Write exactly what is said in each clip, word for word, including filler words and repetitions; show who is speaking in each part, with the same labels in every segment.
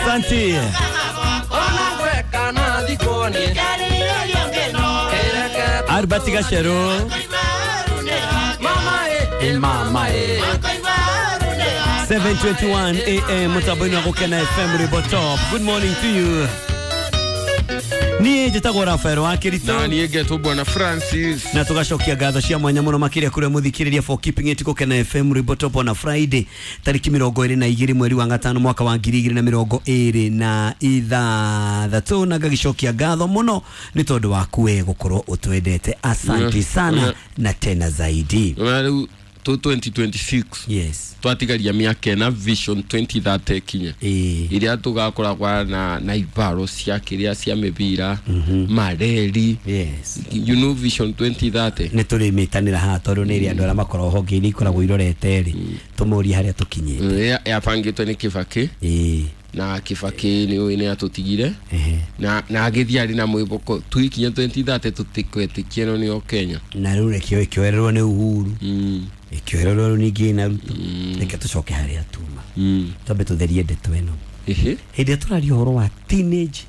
Speaker 1: Asante. Albert Gashero. Mama e. seven twenty-one A M mutabweni wa Gukena F M Ribo Top. Good morning to you. Niĩ njĩtagwo Rafael wa Kirito.
Speaker 2: Na niĩ ngetwo Bwana Francis.
Speaker 1: Na tugacokia ngatho cia mwanya mũno makĩria kũrĩa mũthikĩrĩria for keeping it Gukena F M Ribo Top on a Friday tarĩki mĩrongo ĩrĩ na igĩrĩ mweri wa gatano mwaka wa ngiri igĩrĩ na mĩrongo ĩrĩ na ithathatũ, na ngagicokia ngatho mũno nĩ tondũ waku we gũkorwo ũtwendete. Asante sana na tena zaidi.
Speaker 2: twenty twenty-six.
Speaker 1: Yes.
Speaker 2: Twatigaria miaka na Vision twenty thirty kinya. Iria tugakoragwa na na ibaro cia kiria cia mibira, mareri.
Speaker 1: Yes.
Speaker 2: You know Vision twenty thirty.
Speaker 1: Ni turi mitanira haha tondu ni iria andu aria makoragwo honge-inĩ ikoragwo irorete ri tumurie haria tukinyite.
Speaker 2: Yabangitwe ni Kibaki.
Speaker 1: Eh.
Speaker 2: Na Kibaki ni ni atutigire. Na na agithia ari na mwiboko tuikinya twenty thirty tutikwetikie no ni o Kenya.
Speaker 1: Na riu rekio ikioererwo ni Uhuru.
Speaker 2: Mm.
Speaker 1: Ikioererwo ningĩ na Ruto. Reke tucoke haria tuma. Twambe tutherie ndeto ĩno.
Speaker 2: Ehe.
Speaker 1: Hĩndĩ ĩrĩa tũraria ũhoro wa teenage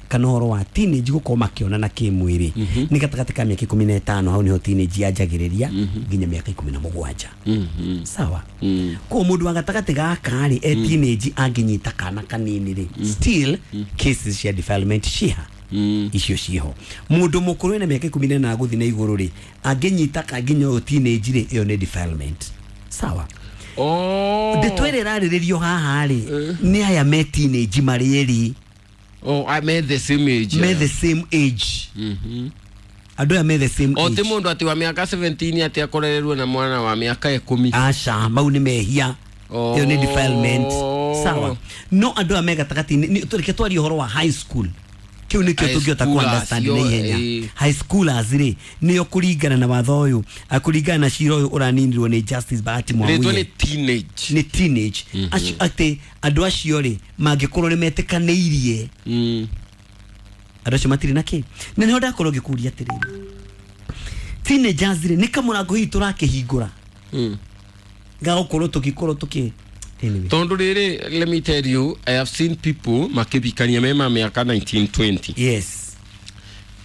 Speaker 1: kana ũhoro wa teenage gũkorwo makĩonana kĩmwĩrĩ nĩ gatagatĩ ka mĩaka ikũmi na ĩtano, hau nĩho teenage yanjagĩrĩria nginya mĩaka ikũmi na mũgwanja. Sawa. Koguo mũndũ wa gatagatĩ gaka rĩ e teenage angĩnyita kana kanini rĩ, still cases cia defilement ciha icio ciho. Mũndũ mũkũrũ ena mĩaka ikũmi na ĩnana gũthiĩ na igũrũ rĩ angĩnyita kanginya ũyũ teenage rĩ, ĩyo nĩ defilement. Sawa.
Speaker 2: Oh.
Speaker 1: Ndeto ĩrĩa ĩrarĩrĩrio haha rĩ nĩ aya me teenage marĩ erĩ.
Speaker 2: Oh, I made the same age.
Speaker 1: Me the same age.
Speaker 2: Mhm.
Speaker 1: Andũ aya me the same
Speaker 2: age.
Speaker 1: O
Speaker 2: ti mũndũ ati wa miaka seventeen ati akorererwo na mwana wa miaka ikũmi.
Speaker 1: Aca, mau nĩ mehia.
Speaker 2: Oh.
Speaker 1: Ĩyo nĩ defilement. Sawa. No andũ aya me gatagatĩ-inĩ, reke twarie ũhoro wa high school. Kĩu nĩkĩo tũngĩhota ku understand na ihenya. High schoolers rĩ nĩo kũringana na watho ũyũ, kũringana na cira ũyũ ũraninirwo nĩ Justice Bahati Mwamuye.
Speaker 2: Rĩtwa nĩ teenage.
Speaker 1: Nĩ teenage. Acio atĩ andũ acio rĩ mangĩkorwo nĩ metĩkanĩirie. Andũ acio matirĩ na kĩ. Na nĩho ndakorwo ngĩkũria atĩrĩrĩ. Teenagers rĩ nĩ kamũrango hihi tũrakĩhingũra. Gagũkorwo tũgĩkorwo tũkĩ anyway.
Speaker 2: Tondu riri, let me tell you, I have seen people makibikania mema miaka nineteen twenty.
Speaker 1: Yes.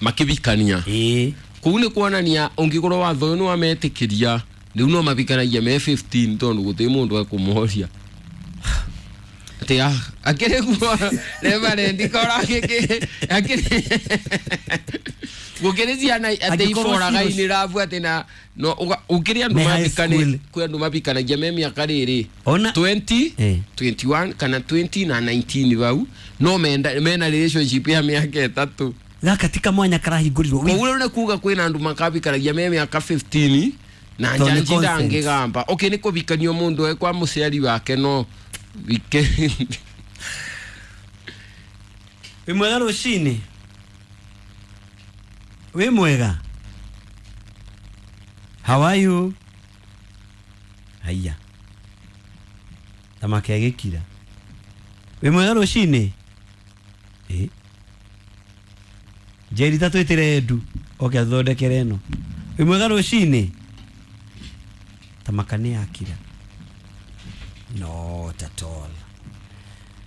Speaker 2: Makibikania.
Speaker 1: Eh.
Speaker 2: Kuu ni kuonania ungikorwo watho ni wametikiria riu no mabikanagia me fifteen tondu guti mundu ekumuhoria. Ati ah akiri guo reverend kora giki akiri gukiri ciana ati iboraga ini rabu ati na no ukiri andu mabikane kwi andu mabikanagia me miaka riri twenty, twenty-one kana twenty na nineteen bau no menda mena relationship ya miaka itatu
Speaker 1: gaka tika mwanya karahingũrirwo.
Speaker 2: Koguo nĩ kuga kwina andu makabikanagia me miaka fifteen na njanji ndangigamba. Okay, ni kubikanio mundu e kwa muciari wake no weekend.
Speaker 1: Wĩ mwega rũcinĩ? Wĩ mwega? How are you? Haiya. Thamaki agĩkira. Wĩ mwega rũcinĩ? Eh. Njeri ta twĩtĩre Edu oke athondekere ĩno. Wĩ mwega rũcinĩ? Thamaka nĩ yakira. Not at all.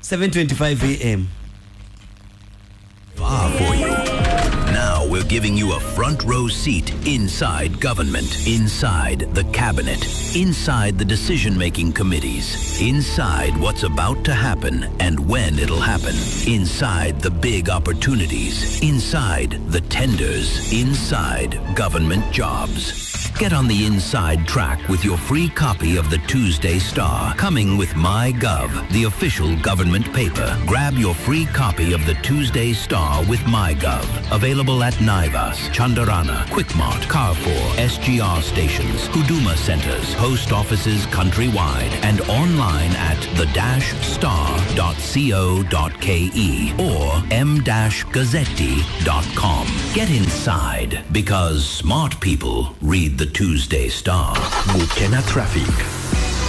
Speaker 1: seven twenty-five A M
Speaker 3: Far for you. Now we're giving you a front row seat inside government, inside the cabinet, inside the decision-making committees, inside what's about to happen and when it'll happen, inside the big opportunities, inside the tenders, inside government jobs. Get on the inside track with your free copy of the Tuesday Star, coming with MyGov, the official government paper. Grab your free copy of the Tuesday Star with MyGov. Available at Naivas, Chandarana, Quickmart, Carrefour, S G R stations, Huduma centers, post offices countrywide, and online at the dash star dot co dot ke or m dash gazzetti dot com. Get inside, because smart people read the Tuesday Star.
Speaker 4: Gukena Traffic.